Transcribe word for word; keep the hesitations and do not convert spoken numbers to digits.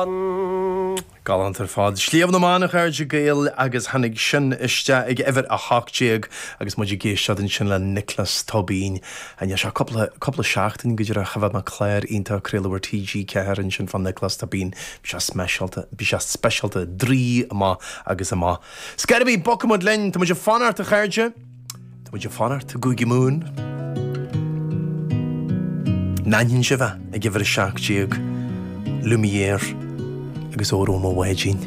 mBan. Galánta ar fad. Sliabh na mBan a chairde Gael agus tháinig sin isteach ag uimhir a hocht déag agus muid ag éisteacht ansin le Nioclás Tóibín. Níl sé cúpla cúpla seachtain go dtí cha bheadh mé clár iontach craoladh ar TG Ceathair ansin fá Nioclás Tóibín. Bhí sé speisialta, bhí sé speisialta draoi amach agus amach. Scairibí bogfaidh muid linn, Tá muid ag fanacht a chairde. Tá muid ag fanacht i gCúige Mumhan. An aithníonn sibh é ag uimhir a seacht déag, Lumière agus Óró Mo Bháidín.